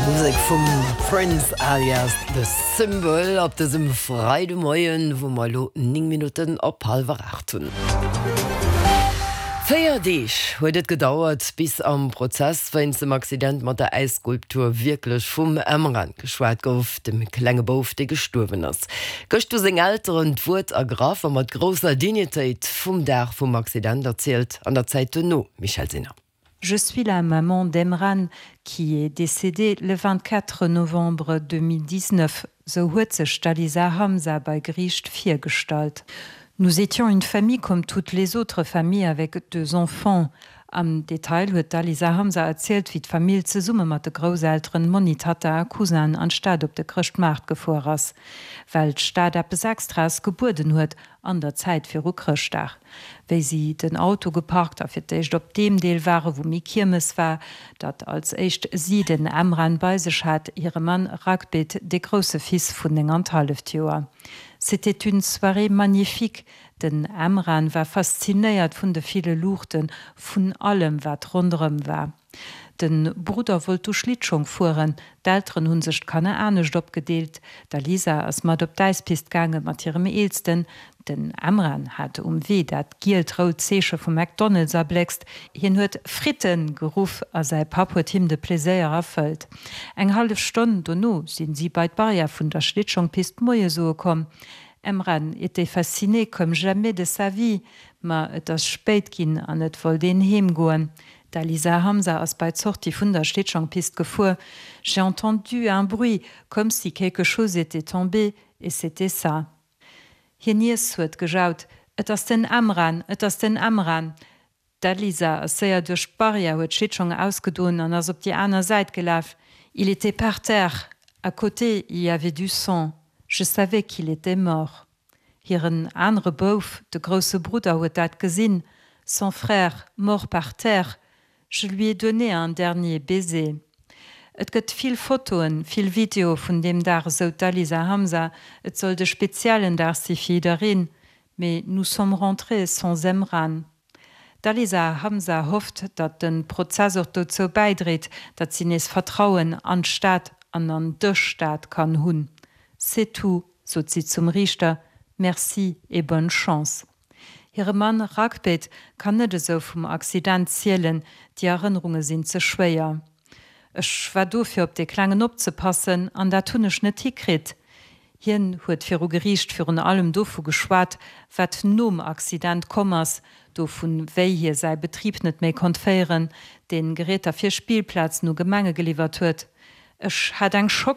Musek vum Prince alias The Symbol op dësem Freidemoien, wou mer elo 9 Minutten op hallwer 8 hunn. 4 Deeg huet et gedauert, bis am Prozess wéinst dem Accident mat der Äisskulptur wierklech vum Emran geschwat gouf, dem klenge Bouf, dee gestuerwen ass. Gëscht hu seng Elteren d'Wuert ergraff a mat grousser Dignitéit vum Dag vum Accident erzielt an der Zäit duerno. Michèle Sinner. Je suis la maman d'Emran qui est décédée le 24 novembre 2019, sou huet sech d'Alisa Hamza bei Geriicht virgestallt. Nous étions une famille comme toutes les autres familles avec deux enfants. Am Detail huet d'Alisa Hamza erzielt, wéi d'Famill zesumme mat de Grousselteren, Monni, Tatta a Cousin an d'Stad op de Chrëschtmaart gefuer ass, well d'Stad eppes Extraes gebueden huet an der Zäit viru Chrëschtdag. Wéi si den Auto geparkt a fir d'éischt op deem Deel ware wou méi Kiermes war, datt als éischt si den Emran bei sech hat, hire Mann Ragbit, dee grousse Fils vun 9 an d'halleft Joer. C'était une soirée magnifique. Den Emran war faszinéiert vun de ville Luuchten, vun allem wat ronderëm war. De Brudder wollt du Schlittschong fueren, d'Elteren hunn sech d'Kanner anescht opgedeelt. D'Alisa ass mat op d'Äispist gaange mat hirem Eelsten. Den Emran hat um Wee dat gielt-rout Zeeche vu McDonald's erbléckst. Hien huet Fritten! geruff a säi Papp huet him de Pleséier erfëllt. Eng hallef Stonn dono sinn si bei d'Barrière vun der Schlittschongpist Moie soe komm. Emran était fasciné comme jamais de sa vie. Ma et ass spéit ginn an et wollt een heem goen. D'Alisa Hamza ass bei d'Sortie vun der Schlittschongpist gefuer. J'ai entendu un bruit, comme si quelque chose était tombé, et c'était ça. Hir Niess huet gejaut, Et ass den Emran! Et ass den Emran! D'Alisa ass séier duerch d'Barrière, huet d'Schlittschong ausgedoen an ass op déi aner Säit gelaf. Il était par terre, à côté il y avait du sang, je savais qu'il était mort. Hiren anere Bouf, de grousse Brudder, huet dat gesinn, Son frère, mort par terre, je lui ai donné un dernier baiser. Et gëtt vill Fotoen, vill Videoe vun deem Dag, esou d'Alisa Hamza. Et sollt e speziellen Dag si fir jiddereen, mee nous sommes rentrés sans Emran. D'Alisa Hamza hofft, datt de Prozess och dozou bäidréit, datt si nees Vertrauen an d'Stad an an de Staat kann hunn. C'est tout, sot si zum Riichter, merci et bonne chance. Hire Mann Ragbet kann net esou vum Accident zielen, déi Erënnerunge sinn ze schwéier. Ech war do fir op dee Klengen opzepassen an dat hunn ech net hikritt. Hien huet viru Geriicht virun allem dovu geschwat, wat nom Accident komm ass, dovun, wéi hie säi Betrib net méi konnt féieren, dee Geräter fir Spillplazen u Gemenge geliwwert huet. Ech hat eng Schock.